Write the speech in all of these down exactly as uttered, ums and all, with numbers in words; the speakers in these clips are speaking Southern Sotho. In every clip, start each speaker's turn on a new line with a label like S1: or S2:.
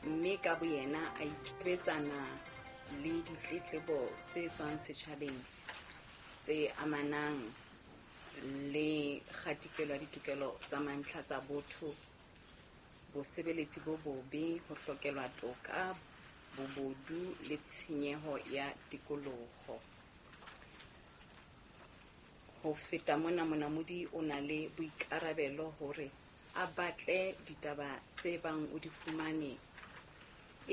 S1: Mme ka boyena a ikebetsana le ditletlebo tse tswang setjhabeng tse amanang le kgatikelo ya ditokelo tsa mantlha tsa botho, bosebeletsi bo bobe, ho hlokelwa toka, bobodu le tshenyeho ya tikoloho. Ho feta mona, Monamodi o na le boikarabelo hore a batle ditaba tse bang o di fumane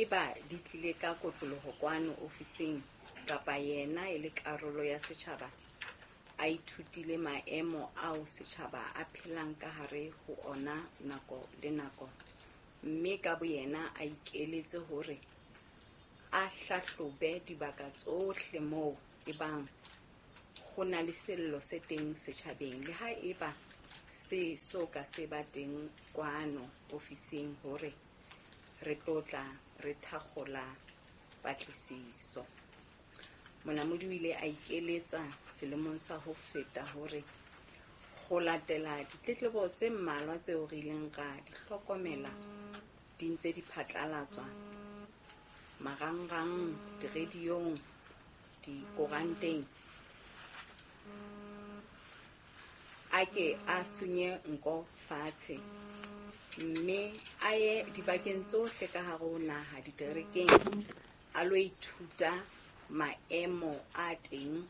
S1: eba di tlile ka kotloloho kwano ofising kapa yena e le karolo ya setjhaba a ithutile maemo ao setjhaba a phelang ka hare ho ona nako le nako, mme ka boyena a ikeletse hore a hlahlobe dibaka tsohle moo ebang ho na le sello se teng setjhabeng le ha eba se so ka se ba teng kwano ofising hore re tlo tla re thakgola patlisiso. Monamodi o ile a ikeletsa selemong sa ho feta hore ho latela ditletlebo tse mmalwa tseo re ileng ra di hlokomela di ntse di phatlalatswa marangrang, diradiong, dikoranteng, a ke a sunye nko fatshe mme a ye dibakeng tsohle ka hare ho naha diterekeng a lo ithuta maemo a teng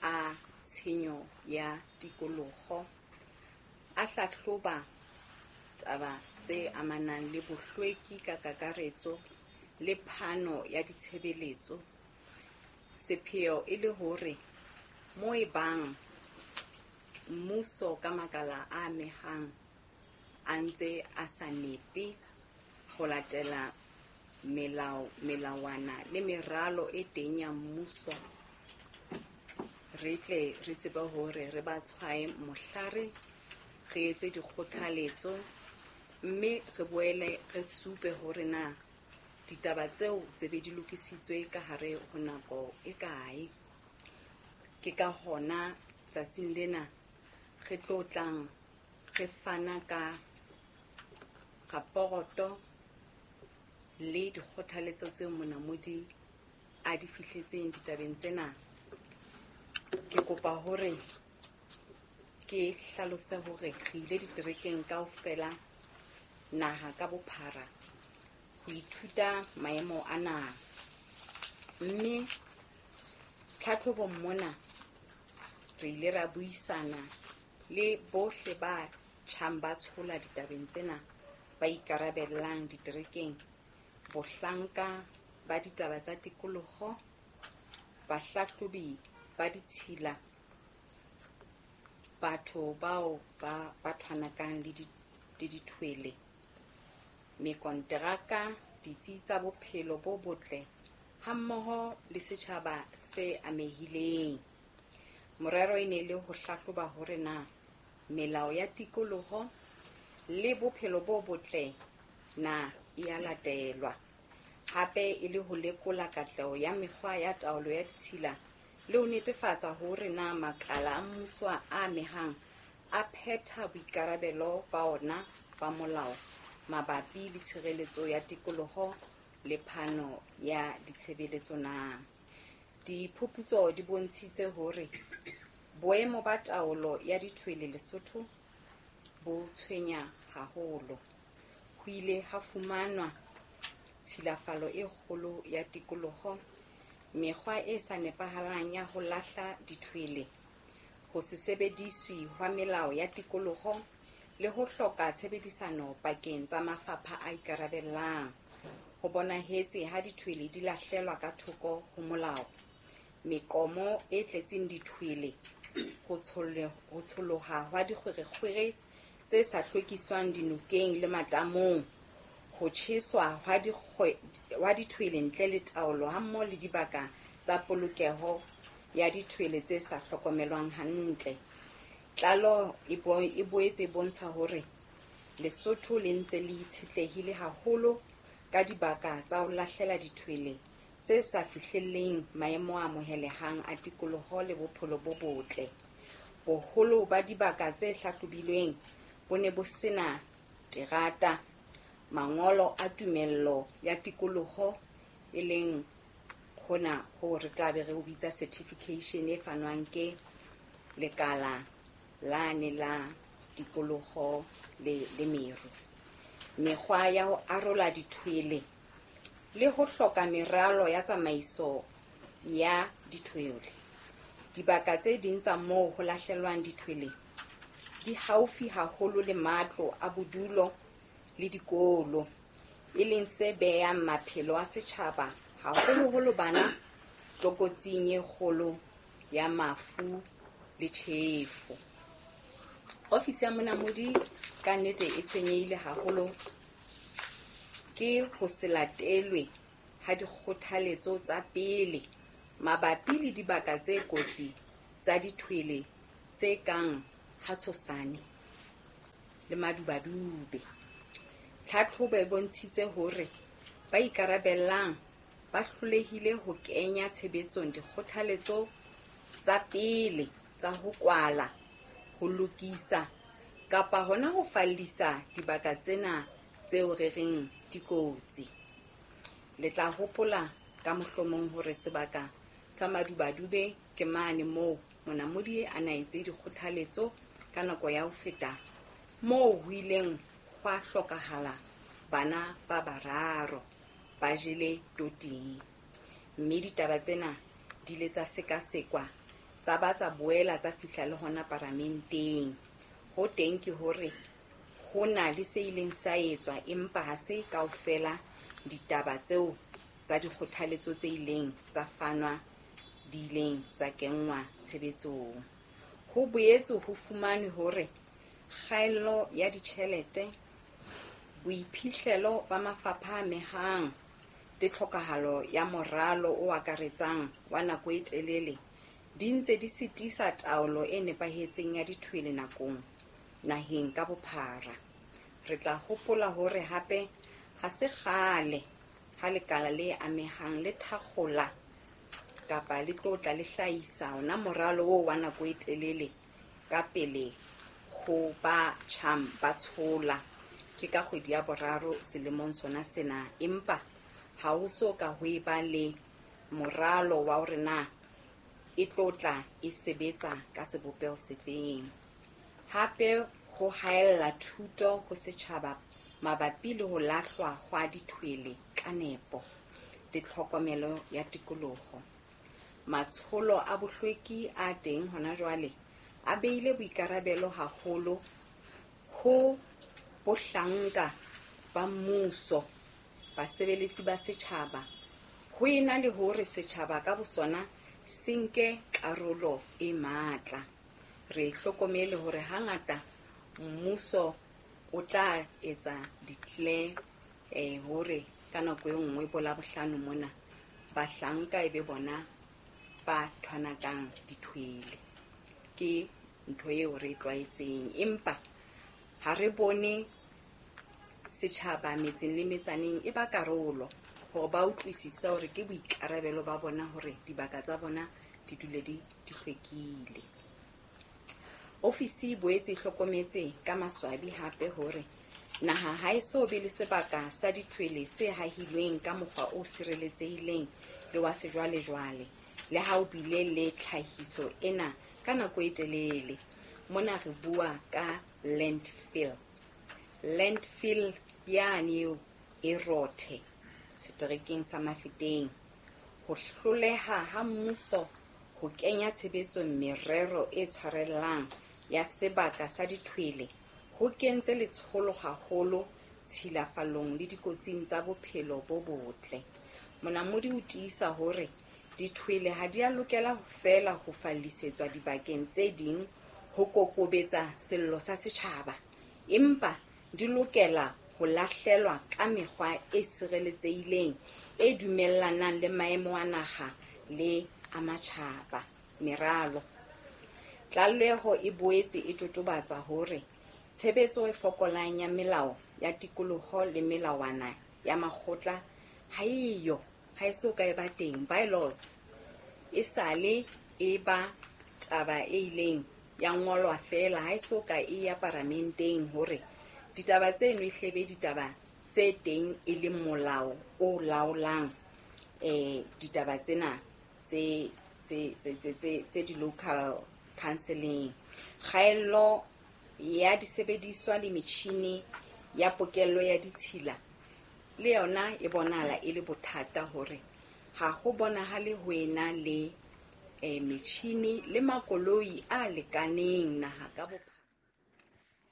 S1: a tshenyo ya tikoloho, a hlahloba taba tse amanang le bohlweki ka kakaretso le phano ya ditshebeletso, sepheo e le hore mo ebang mmuso ka makala a amehang a ntse a sa nepe ho latela melao, melawana le meralo e teng ya mmuso, re tle re tsebe hore re ba tshwae mohlare, re etse dikgothaletso mme re boele re supe hore na ditaba tseo tse be di lokisitswe ka hare ho nako e kae. Ke ka hona tsatsing lena re tlo tlang re fana ka raporoto le dikgothaletso tseo Monamodi a di fihletseng ditabeng tsena. Ke kopa hore ke hlalose hore re ile diterekeng kaofela naha ka bophara ho ithuta maemo a naha, mme tlhatlhobong mona re ile ra buisana le bohle ba tjhang ba tshola ditabeng tsena ba ikarabellang diterekeng, bohlanka ba ditaba tsa tikoloho, bahlahlobi ba ditshila, batho bao ba ba thwanakang le di, le dithwele, mekonteraka, ditsi tsa bophelo bo botle hammoho le setjhaba se amehileng. Morero e ne le ho hlahloba hore na melao ya tikoloho le bophelo bo botle na e a latelwa, hape e le ho lekola katleho ya mekgwa ya taolo ya ditshila le ho netefatsa hore na makala a mmuso a amehang a phetha boikarabelo ba ona ba molao mabapi le tshireletso ya tikoloho le phano ya ditshebeletso na. Diphuputso di bontshitse hore boemo ba taolo ya dithwele Lesotho bo tshwenya haholo. Ho ile ha fumanwa tshilafalo e kgolo ya tikoloho, mekgwa e sa nepahalang ya ho lahla dithwele, ho se sebediswe hwa melao ya tikoloho le ho hloka tshebedisano pakeng tsa mafapha a ikarabellang. Ho bonahetse ha dithwele di lahlelwa ka thoko ho molao, meqomo e tletseng dithwele, ho tsholoha hwa dikgwerekgwere tse sa hlwekiswang dinokeng le matamong, ho tjheswa hwa dithwele ntle le taolo hammoho le dibaka tsa polokeho ya dithwele tse sa hlokomelwang hantle. Tlaleho e boetse e bontsha hore Lesotho le ntse le itshetlehile haholo ka dibaka tsa ho lahlela dithwele tse sa fihlelleng maemo a amohelehang a tikoloho le bophelo bo botle. Boholo ba dibaka tse hlahlobilweng bo ne bo sena terata, Mangolo a tumello ya tikoloho e leng hona ho re tla be re o bitsa certification e fanwang ke lekala lane la tikoloho le, le meru. Mekgwa ya ho arola dithwele le ho hloka meralo ya tsamaiso ya dithwele. Dibaka tse ding tsa moo ho lahlelwang dithwele di haufi haholo le matlo a bodulo le dikolo, e leng se behang maphelo a setjhaba haholoholo bana tlokotsing e kgolo ya mafu le tjhefo. Ofisi ya Monamodi ka nnete e tshwenyehile haholo ke ho se latelwe ha dikgothaletso tsa pele mabapi le dibaka tse kotsi tsa dithwele tse kang ha Tshosane le Madubadube. Tlhatlhobo e bontshitse hore ba ikarabellang ba hlolehile ho kenya tshebetsong dikgothaletso tsa pele tsa ho kwala, ho lokisa kapa hona ho fallisa dibaka tsena tseo re reng di kotsi. Le tla hopola ka mohlomong hore sebaka sa Madubadube ke mane moo Monamodi a na etse dikgothaletso ka nako ya ho feta moo ho ileng hwa hlokahala bana ba bararo ba jele toting. Mme ditaba tsena di ile tsa sekasekwa tsa ba tsa boela tsa fihla le hona paramenteng. Ho teng ke hore ho na le se ileng sa etswa, empa ha se kaofela ditaba tseo tsa dikgothaletso tse ileng tsa fanwa di ileng tsa kenngwa tshebetsong. Ho boetse ho fumanwe hore kgaello ya ditjhelete, boiphihlelo ba mafapha a amehang le tlhokahalo ya moralo o akaretsang wa nako e telele di ntse di sitisa taolo e nepahetseng ya dithwele nakong naheng ka bophara. Re tla hopola hore hape ha se kgale ha lekala le amehang le thakgola kapa le tlo tla le hlahisa ona moralo oo wa nako e telele ka pele ho ba tjhang ba tshola ke ka kgwedi ya boraro selemong sona sena, empa ha ho so ka ho eba le moralo wa hore na e tlo tla e sebetsa ka sebopeho sefeng. Hape ho haella thuto ho setjhaba mabapi le ho lahlwa hwa dithwele ka nepo le tlhokomelo ya tikoloho. Matsholo a bohlweki a teng hona jwale a beile boikarabelo haholo ho bohlanka ba mmuso, basebeletsi ba setjhaba, ho ena le hore setjhaba ka bosona se nke karolo e matla. Re hlokomele hore hangata mmuso o tla etsa declare eh hore ka nako e nngwe bo Labohlano mona bahlanka e be bona ba thwanakang dithwele. Ke ntho eo re e tlwaetseng, empa ha re bone setjhaba metseng le metsaneng e ba karolo hore ba utlwisise hore ke boikarabelo ba bona hore dibaka tsa bona di dule di, di hlwekile. Ofisi e boetse e hlokometse ka maswabi hape hore naha ha e so be le sebaka sa dithwele se hahilweng ka mokgwa o sireletsehileng le wa sejwalejwale, le ha o bile le tlhahiso ena ka nako e telele. Mona re bua ka landfill. Landfill yane eo e Rothe seterekeng sa Mafeteng. Ho hloleha ha mmuso ho kenya tshebetsong merero e tshwarellang ya sebaka sa dithwele ho kentse letsholo haholo tshilafalong le dikotsing tsa bophelo bo botle. Monamodi o tiisa hore dithwele ha di a lokela feela ho fallisetswa dibakeng tse ding ho kokobetsa sello sa setjhaba, empa di lokela ho lahlelwa ka mekgwa e sireletsehileng e dumellanang le maemo a naha le a matjhaba. Meralo. Tlaleho e boetse e totobatsa hore tshebetso e fokolang ya melao ya tikoloho le melawana ya makgotla ha eyo, ha e so ka e ba teng, bylaws e sale e ba taba e ileng ya ngolwa feela, ha e so ka e ya paramenteng hore ditaba tseno e hlebe ditaba tse teng e le molao o laolang eh ditaba tsena tse tse tse tse tse di local counseling. Kgaello ya disebediswa le metjhini ya pokello ya ditshila le yona e bonahala e le bothata hore ha ho bonahale ho ena le eh metjhini le makoloi a lekaneng naha ka bophara.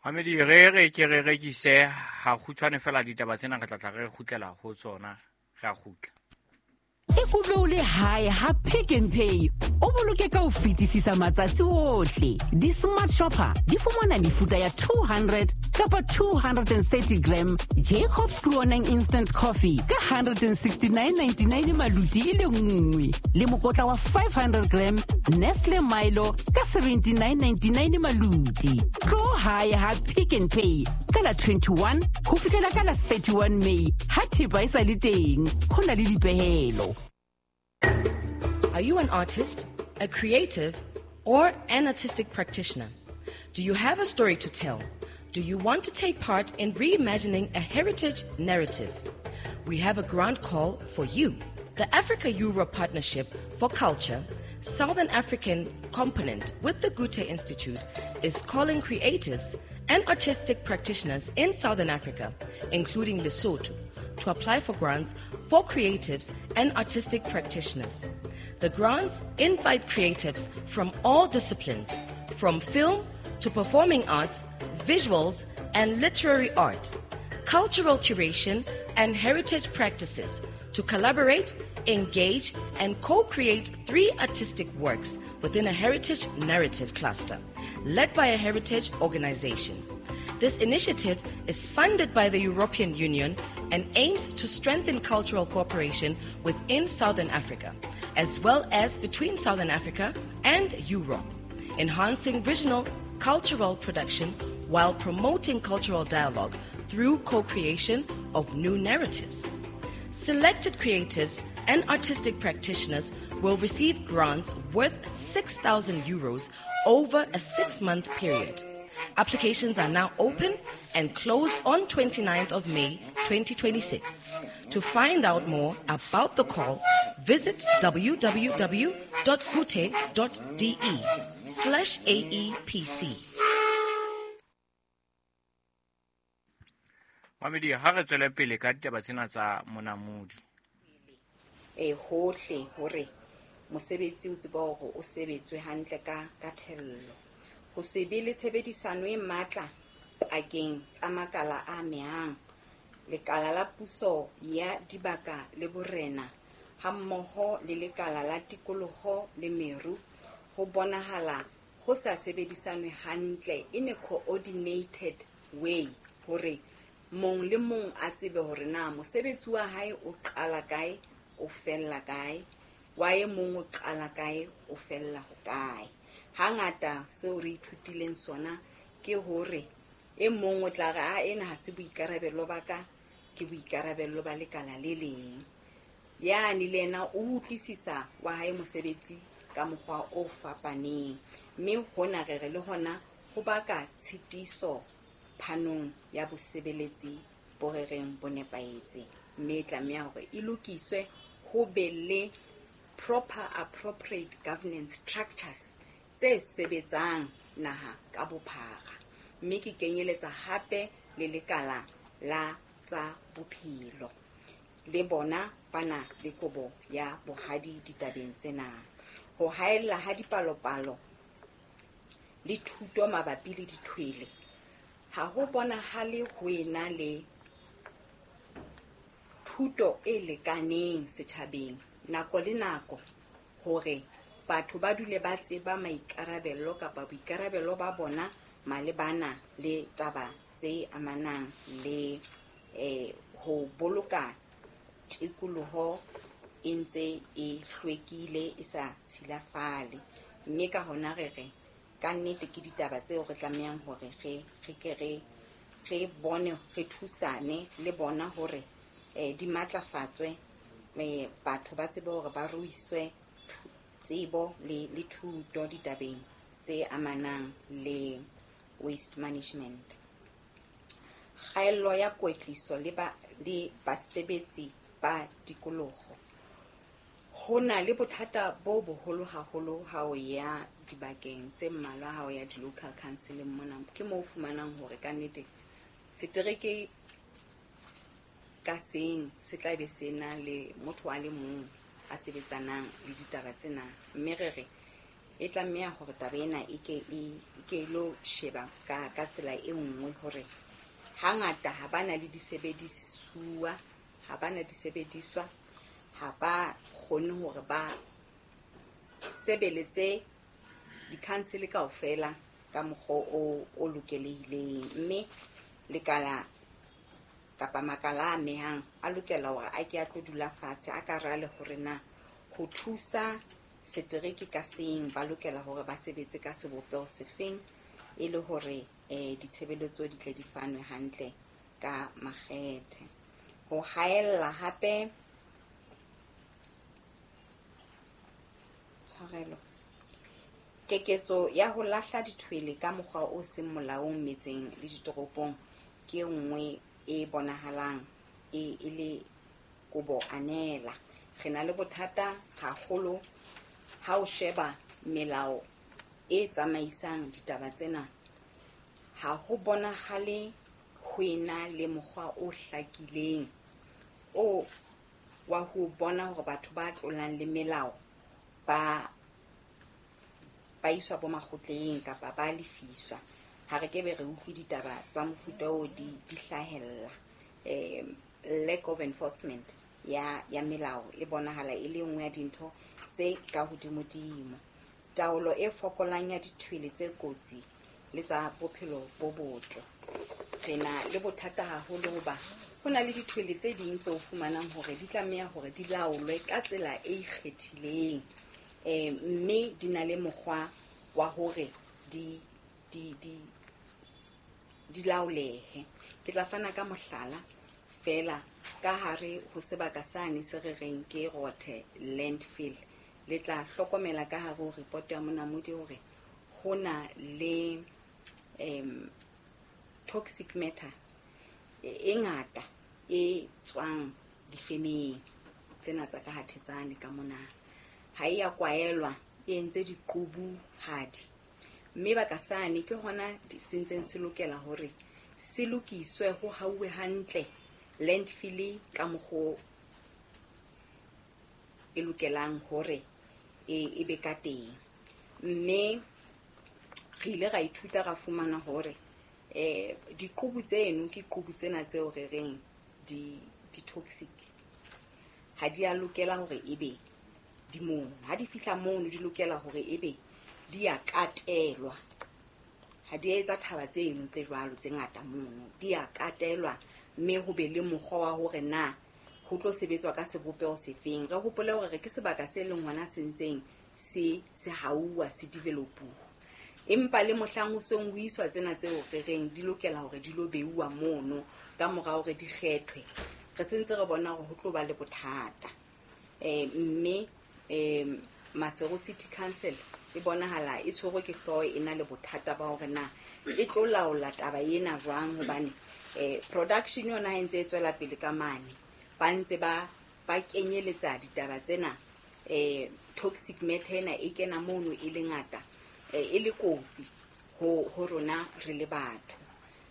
S2: Mamedi, re re ke re rekise ha kgutshwane fela ditaba tsena re tla tla re kgutlela ho tsona, re a kgutla.
S3: Ikutlwe o le hae ha Pick n Pay o boloke ka ho fetisisa matsatsi ohle. Di-smart shopper di fumana mefuta ya two hundred kapa two hundred and thirty gram Jacobs Groenang Instant Coffee ka one hundred sixty-nine ninety-nine maluti e le nngwe, le mokotla wa five hundred gram Nestle Milo ka seventy-nine ninety-nine maluti. Tlo hae ha Pick n Pay ka la twenty-one ho fihlela ka la thirty-one May ha thepa e sa le teng. Ho na le dipehelo.
S4: Are you an artist, a creative, or an artistic practitioner? Do you have a story to tell? Do you want to take part in reimagining a heritage narrative? We have a grant call for you. The Africa-Europe Partnership for Culture, Southern African component with the Goethe Institute, is calling creatives and artistic practitioners in Southern Africa, including Lesotho, to apply for grants for creatives and artistic practitioners. The grants invite creatives from all disciplines, from film to performing arts, visuals and literary art, cultural curation and heritage practices, to collaborate, engage and co-create three artistic works within a heritage narrative cluster, led by a heritage organization. This initiative is funded by the European Union and aims to strengthen cultural cooperation within Southern Africa, as well as between Southern Africa and Europe, enhancing regional cultural production while promoting cultural dialogue through co-creation of new narratives. Selected creatives and artistic practitioners will receive grants worth six thousand euros over a six-month period. Applications are now open and close on twenty-ninth of May twenty twenty-six. To find out more about the call, visit w w w dot goethe dot d e slash A E P C.
S2: Mamedi, ha re tswele pele ka ditaba tsena tsa monamodi.
S1: E hohle hore mosebetsi o tsebe hore o sebetswe hantle ka, ka thello. Ho se be le tshebedisano e matla pakeng tsa makala a amehang, lekala la puso ya dibaka le borena hammoho le lekala la tikoloho le meru, ho bonahala ho sa sebedisanwe hantle in a coordinated way hore mong le mong a tsebe hore na mosebetsi wa hae o qala kae, o fella kae, wa e mong o qala kae, o fella ho kae. Hangata seo re ithutileng sona ke hore e mong o tla re, a ena ha se boikarabelo ba ka, ke boikarabelo ba lekala le leng. Yane le yena o utlwisisa wa hae mosebetsi ka mokgwa o fapaneng, mme hona re re le hona ho baka tshitiso phanong ya bosebeletsi bo re reng bo nepahetse, mme e tlameha hore e lokiswe, ho be le proper appropriate governance structures tse sebetsang naha ka bophara, mme ke kenyeletsa hape le lekala la tsa bophelo le bona ba na le kobo ya bohadi ditabeng tsena. Ho haella ha dipalopalo le thuto mabapi le dithwele, ha ho bonahale ho ena le thuto e lekaneng setjhabeng nako le nako hore batho ba dule ba tseba maikarabelo kapa boikarabelo ba bona malebana le taba tse amanang le, eh, ho boloka tikoloho e ntse e hlwekile, e sa tshilafale. Mme ka hona re re ka nnete ke ditaba tseo re tlamehang hore re, re ke re, re bone, re thusane le bona hore, eh, di matlafatswe, eh, batho ba tsebe hore ba ruiswe tsebo le, le thuto ditabeng tse amanang le waste management. Kgaello ya kwetliso le ba, le basebetsi ba tikoloho. Ho na le bothata bo boholo haholo ha o ya dibakeng tse mmalwa, ha o ya di-local council mona, ke moo o fumanang hore ka nnete setereke ka seng se tla be se na le motho a le mong a sebetsanang le ditaba tsena. Mme re re e tlameha hore taba ena e ke e ke lo sheba ka ka tsela e nngwe, hore hangata ha bana le disebedisuwa, ha bana disebediswa, ha ba kgone hore ba sebeletse di-council kaofela ka mokgwa o o lokelehileng. Mme lekala kapa makala a amehang a lokela hore a ke a tlo dula fatshe, a ka rale hore na ho thusa setereke ka seng ba lokela hore ba sebetse ka sebopeho sefeng, e le hore eh ditshebeletso di tle di fanwe hantle ka makgethe. Ho haella hape tshwarelo keketso ya ho lahla dithwele ka mokgwa o seng molaong metseng le ditoropong ke e nngwe e bonahalang e e le kobo anela. Re na le bothata haholo ha o sheba melao e tsamaisang ditaba tsena, ha ho bonahale ho ena le mokgwa o hlakileng o wa ho bona hore batho ba tlolang le melao ba ba iswa bo makgotleng kapa ba lefiswa. Ha re kebe re utlwe ditaba tsa mofuta oo di di hlahella. Eh lack of enforcement ya ya melao e bonahala e le nngwe ya dintho tse ka hodimodimo. Taolo e fokolang ya dithwele tse kotsi le tsa bophelo bo botle. Re na le bothata haholo hoba ho na le dithwele tse ding tse o fumanang hore di tlameha hore di laolwe ka tsela e ikgethileng, eh mme di na le mokgwa wa hore di di di di laolehe. Ke tla fana ka mohlala fela ka hare ho sebaka sane se re reng ke Rothe landfill. Le tla hlokomela ka hare ho report ya Monamodi hore ho na le em toxic matter e ngata e tswang difemeng tsena tsa ka hathetsane ka mona. Ha e ya kwaelwa, e entse diqubuhadi, mme baka sane ke hona se ntseng se lokela hore se lokiswe, ho hauwe hantle landfill ka mokgwa e lokelang hore e e be ka teng. Mme re ile ra ithuta ra fumana hore eh diqubu tseno ke qubu tsena tseo re reng di di toxic, ha di a lokela hore ebe di mono. Ha di fihla mono di lokela hore ebe di a katelwa, ha di etsa thaba tseno tse jwalo tse ngata mono, di a katelwa, mme ho be le mokgwa wa hore na ho tlo sebetswa ka sebopeho sefeng. Re hopole hore re ke sebaka se leng hona se ntseng se se hauwa, se developuwa, empa le mohlang ho seng ho iswa tsena tseo re reng di lokela hore di lo beuwa mono ka mora hore di kgethwe, re sentse re bona hore ho tlo ba le bothata. Eh mme eh Maseru City Council e bonahala e tshwerwe ke hlooho, e na le bothata ba hore na e tlo laola taba ena jwang, hobane eh production yona ha e ntse e tswela pele ka mane, ba ntse ba ba kenyeletsa ditaba tsena, eh toxic matter ena e kena mono e le ngata, e le kotsi ho ho rona re le batho.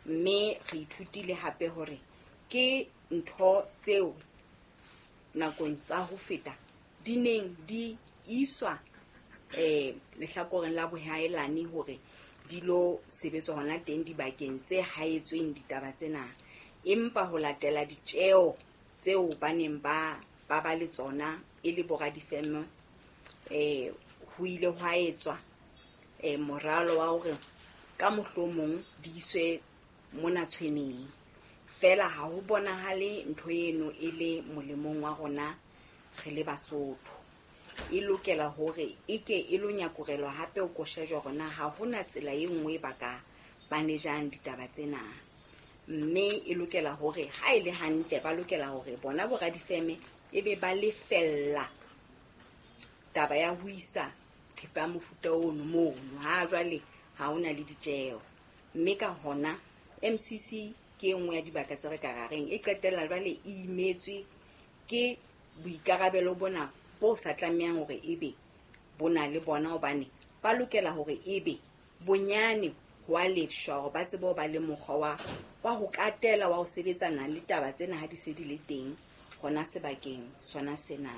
S1: Mme re ithutile hape hore ke ntho tseo nakong tsa ho feta di neng di iswa eh lehlakoreng la bohaelane hore di lo sebetswa hona teng dibakeng tse haetsweng ditaba tsena, empa ho latela ditjeo tseo ba neng ba ba ba le tsona e le boradifeme, eh ho ile hwa etswa eh moralo wa hore ka mohlomong di iswe mona tshweneng. Fela ha ho bonahale ntho eno e le molemong wa rona re le Basotho. E lokela hore e ke e lo nyakurelwa hape o koshejwa hore na ha hona tsela e nngwe ba ka manejang ditaba tsena. Mme e lokela hore ha e le hantle ba lokela hore bona boradifeme e be ba lefella taba ya ho isa thepa ya mofuta ono mono. Ha jwale ha hona le ditjeho, mme ka hona M C C Ke e nngwe ya dibaka tse re ka rareng e qetella jwale e imetswe ke boikarabelo bona bo sa tlamehang hore ebe bo na le bona, hobane ba lokela hore ebe bonyane ho a lefshwa hore ba tsebe ho ba le mokgwa wa, wa ho katela wa ho sebetsana le taba tsena ha di se di le teng hona sebakeng sona sena.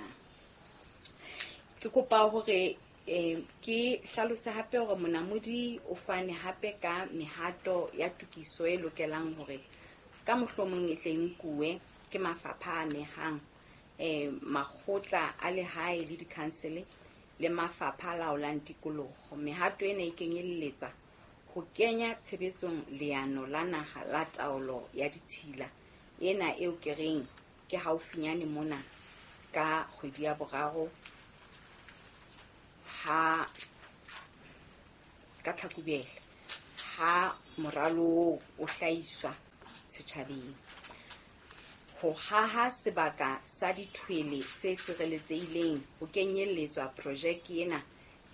S1: Ke kopa hore eh, ke hlalose hape hore monamodi o fane hape ka mehato ya tokiso e lokelang hore ka mohlomong e tle e nkuwe ke mafapha a amehang, eh, makgotla a lehae le dikhansele le mafapha a laolang tikoloho. Mehato ena e kenyelletsa ho kenya tshebetsong leano la naha la taolo ya ditshila, ena eo ke reng ke haufinyane mona ka kgwedi ya boraro ha ka Tlhakubele ha moralo o hlahiswa setjhabeng. Ho haha sebaka sa dithwele se sireletsehileng ho kenyelletswa projeke ena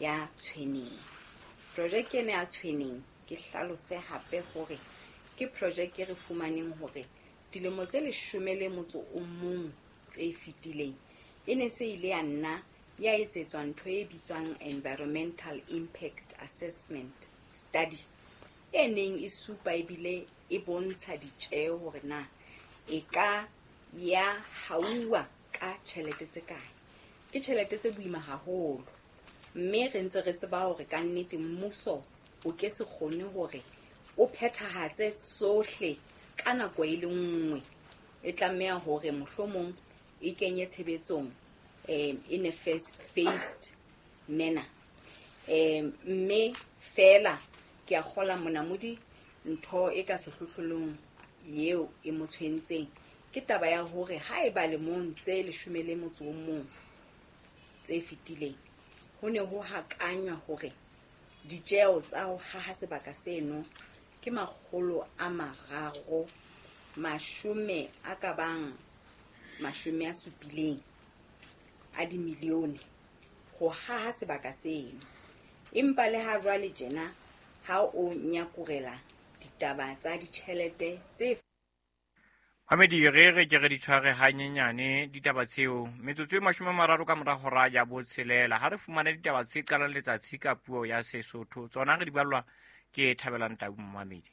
S1: ya Tshweneng. Projeke ena ya Tshweneng ke hlalose hape hore ke projeke e re fumaneng hore dilemo tse leshome le motso o mong tse fetileng e ne se ile ya nna ya etsetswa ntho e bitswang Environmental Impact Assessment Study, e neng e supa ebile e bontsha ditjeho hore na e ka ya hauwa ka tjhelete tse kae. Ke tjhelete tse boima haholo, mme re ntse re tseba hore ka nnete mmuso o ke se kgone hore o phethahatse sohle ka nako e le nngwe. E tlameha hore mohlomong e kenye tshebetsong eh, in a phased manner. Eh, mme fela ke a kgola monamodi ntho e ka sehlohlolong eo e mo tshwentseng ke taba ya hore haeba lemong tse leshome le motso o mong tse fetileng ho ne ho hakanywa hore ditjeho tsa ho haha sebaka seno ke makgolo a mararo mashome a ka bang mashome a supileng a dimilione ho haha sebaka seno. Empa le ha jwale tjena ha o nyakurela ditaba tsa ditjhelete tse
S2: Mamedi, re re ke re di tshware hanyenyane ditaba tseo. Metsotso e mashome a mararo ka mora hora ya botshelela ha re fumane ditaba tse qalang letsatsi ka puo ya Sesotho. Tsona re di ballwa ke Thabelang Tau Mamedi.